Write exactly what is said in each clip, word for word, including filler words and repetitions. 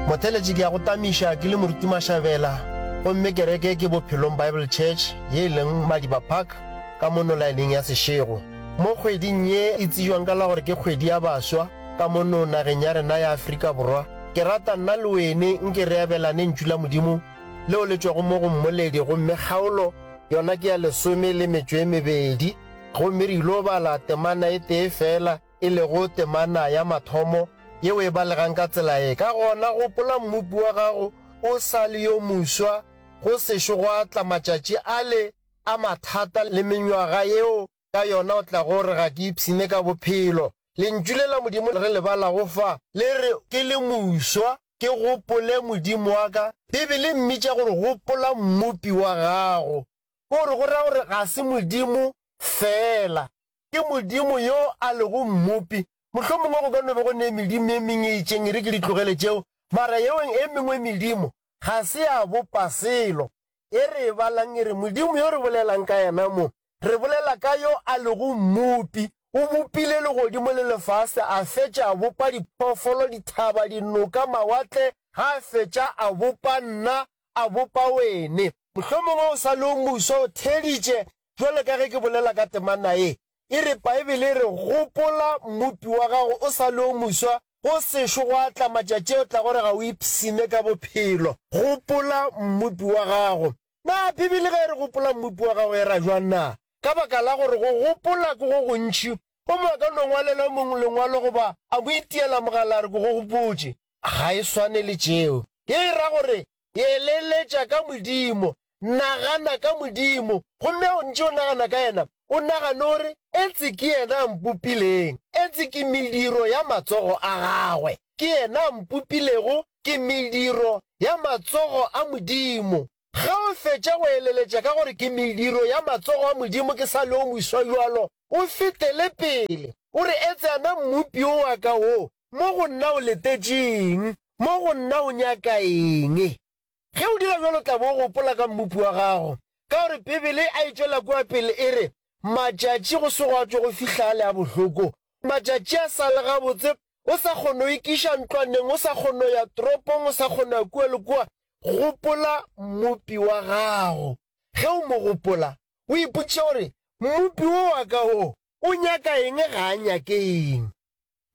Motheletši ke ya go tamiša ke le Moruti Mašabela gomme kereke ke Bophelong Bible Church ye e leng Madiba Park ka mono laeneng ya Seshego. Mo kgweding ye e tsebjang ka la gore ke kgwedi ya baswa ka mono nageng ya rena ya Afrika Borwa, ke rata nna le wene nke re abelane ntšu la Modimo leo le tšwago mo go Mmoledi gomme kgaolo yona ke ya lesome le metšo e mebedi gomme re ilo bala temana e tee fela e lego temana ya mathomo yeo e balegang ka tsela ye. Ka gona gopola Mmopi wa gago o sa le yo moswa, go sešo gwa tla matšatši ale a mathata le menywaga yeo ka yona o tlago re ga ke ipshine ka bophelo. Lentšu le la Modimo re le balago fa le re, Ke le moswa, ke gopole Modimo wa ka. Bibele e mmitša gore gopola Mmopi wa gago. Ke gore go ra gore ga se Modimo feela, ke Modimo yo a lego Mmopi. Mohlomongwe go ka no be go ne medimo e mengwe e itšeng, e re ke di tlogele tšeo, mara yeo e mengwe medimo ga se ya bopa selo. E re e balang e re, Modimo yo re bolelang ka yena mo, re bolela ka yo a lego Mmopi. O bopile legodimo le lefase, a fetša a bopa diphoofolo, dithaba, dinoka, mawatle, ga a fetša a bopa nna, a bopa wene. Mohlomongwe o sa le o moswa, o theeditše bjalo ka ge ke bolela ka temana ye. E re, Paebele e re, Gopola Mmopi wa gago o sa le o moswa, go sešo gwa tla matšatši a o tlago re ga o ipshine ka bophelo. Gopola Mmopi wa gago. Na Bibele ge e re gopola Mmopi wa gago e ra bjang na? Ka baka la gore go gopola ke go gontši, o mongwe a ka no ngwalela yo mongwe lengwalo goba a mo itiela mogala a re ke go gopotše. Ga e swane le tšeo. Ye e ra gore eleletša ka Modimo, nagana ka Modimo, gomme a o ntše o nagana ka yena, o nagane o re, Etse ke yena a mpopileng, etse ke mediro ya matsogo a gagwe, ke yena a mpopilego, ke mediro ya matsogo a Modimo. Ge o fetša go eleletša ka gore ke mediro ya matsogo a Modimo ke sa le o moswa bjalo, o fetele pele, o re, Etse ana Mmopi wo wa ka wo, mo go nna o letetše eng? Mo go nna o nyaka eng? Ge o dira bjalo o tla bo o gopola ka Mmopi wa gago, ka gore Bibele a e tšwela kua pele e re, Matšatši go se gwa tšwe go fihla ale a bohloko, matšatši a sa le gabotse, o sa kgone go ikiša ntlwaneng, o sa kgone go ya toropong, o sa kgone go ya kua le kua, gopola Mmopi wa gago. Ge o mo gopola, o ipotšiša gore, Mmopi wo wa ka wo, o nyaka eng ga a nyake eng?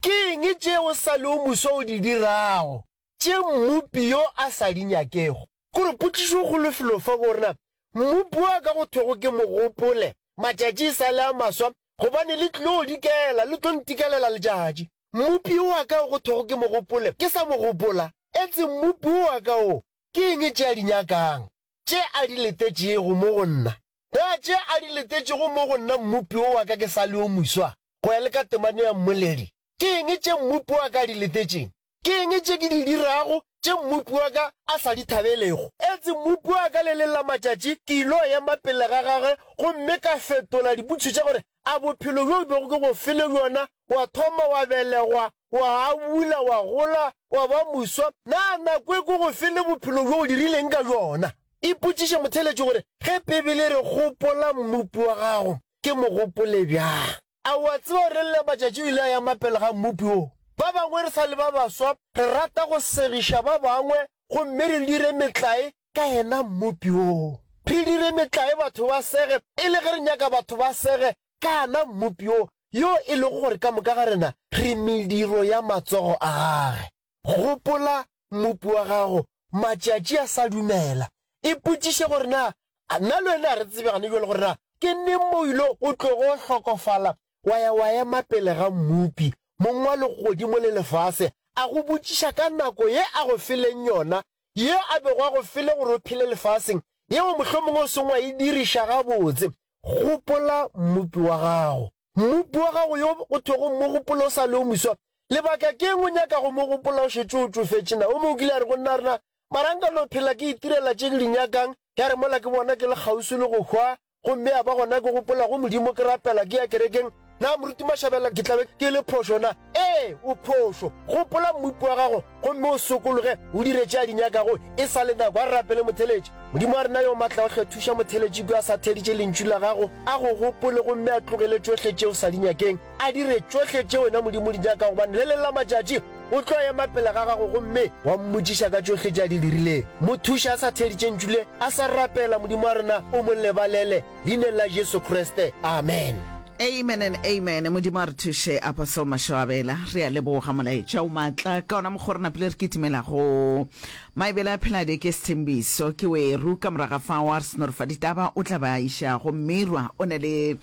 Ke eng tše o sa le o moswa o di dirago, tše Mmopi yo a sa di nyakego? Gore potšišo kgolo felo fa ke gore na Mmopi wa ka go thwego ke mo gopole matšatši e sa le a maswa, gobane le tlilo dikela, le tlo ntikelela letšatši. Mmopi wa ka go thwego ke mo gopole, ke sa mo gopola. Etse Mmopi wa ka wo, ke eng tše a di nyakang, tše a di letetšego mo go nna? Na tše a di letetšego mo go nna Mmopi wo wa ka ke sa le yo moswa, go ya le ka temana ya Mmoledi? Ke eng tše Mmopi wa ka a di letetšeng? Ke eng tše ke di dirago tše Mmopi wa ka a sa di thabelego? Etse Mmopi wa ka le leng la matšatši ke ilo ema pele ga gagwe gomme ka fetola dipotšišo tša gore, A bophelo bjo bego ke go file bjona, wa thoma wa belegwa, wa abula, wa gola, wa ba moswa, na nako e ke go file bophelo bjo o dirileng ka bjona? Ipotšiše motheeletši gore, Ge Bibele e re gopola Mmopi wa gago, ke mo gopole bjang? A o a tseba gore le matšatši o ile a ema pele ga Mmopi wo? Ba bangwe re sa le ba baswa, re rata go segiša ba bangwe gomme re dire metlae ka yena Mmopi wo. Re dire metlae batho ba sege e le ge re nyaka batho ba sege ka yena Mmopi wo, yo e lego gore ka moka ga rena re mediro ya matsogo a gagwe. Gopola Mmopi wa gago matšatši a sa dumela. Ipotšiše gore na nna le wena ga re tsebe gane bjale gore na ke neng mo o ile o tlogo hlokofala wa ya wa ema pele ga Mmopi, Mong wa legodimo le lefase, a go botšiša ka nako ye a go feleng yona, ye a bego a go file gore o phele lefaseng, yeo mohlomongwe o seng wa e diriša gabotse. Gopola Mmopi wa gago. Mmopi wa gago yo go thwego mogopolo o sa le o moswa. Lebaka ke eng o nyaka go mo gopola o šetše o tšofetše? Na o mongwe o kile a re go nna, Rena, mara nka no phela ke itirela tše ke di nyakang, ya re mola ke bona ke le kgauswi le go hwa, gomme ya ba gona ke gopola go Modimo ke rapela ke ya kerekeng, na Moruti Mashabela ke tla be ke le phošo na? Ee, o phošo. Gopola Mmopi wa gago gomme o sokologe, o dire tše a di nyakago e sa le nako. A re rapele motheeletši. Modimo wa rena yo Maatlaohle, thuša motheeletši yo a sa theeditše Lentšu la Gago, a go gopole gomme a tlogele tšohle tše o sa di nyakeng, a dire tšohle tše wena Modimo o di nyakago, gobane le leng la matšatši O tlo ema pele ga gago gomme wa mmotšiša ka tšohle tše a di dirileng. Mo thuše a sa theeditše ntšu le, a sa rapela, Modimo wa rena, o mo lebalele, Leineng la Jesu Kriste. Amen. Amen and amen. Modimo a re thuše, Apostle Mashoabela. Re a leboga molaetša o maatla. Ka ona mokgwa re napile re kitimela go Maebele a Pheladi ke Sethembiso ke weru. Ka moraga fao a re seno re fa ditaba o tla ba iša go Mirwa o ne le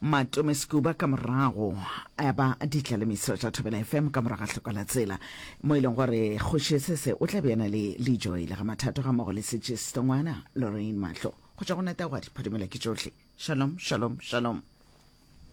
Matome Sekuba ka morago a ba ditlalemiso tša Thobela F M ka morago ga hloka la tsela mo e leng gore Kgoši Sese o tla be a na le Lejoy le ga Mathato ga mmogo le Setšesto ngwana Lorraine Mahlo go tšwa go Natagwadi Phadimela ke tšohle. Shalom, shalom, shalom.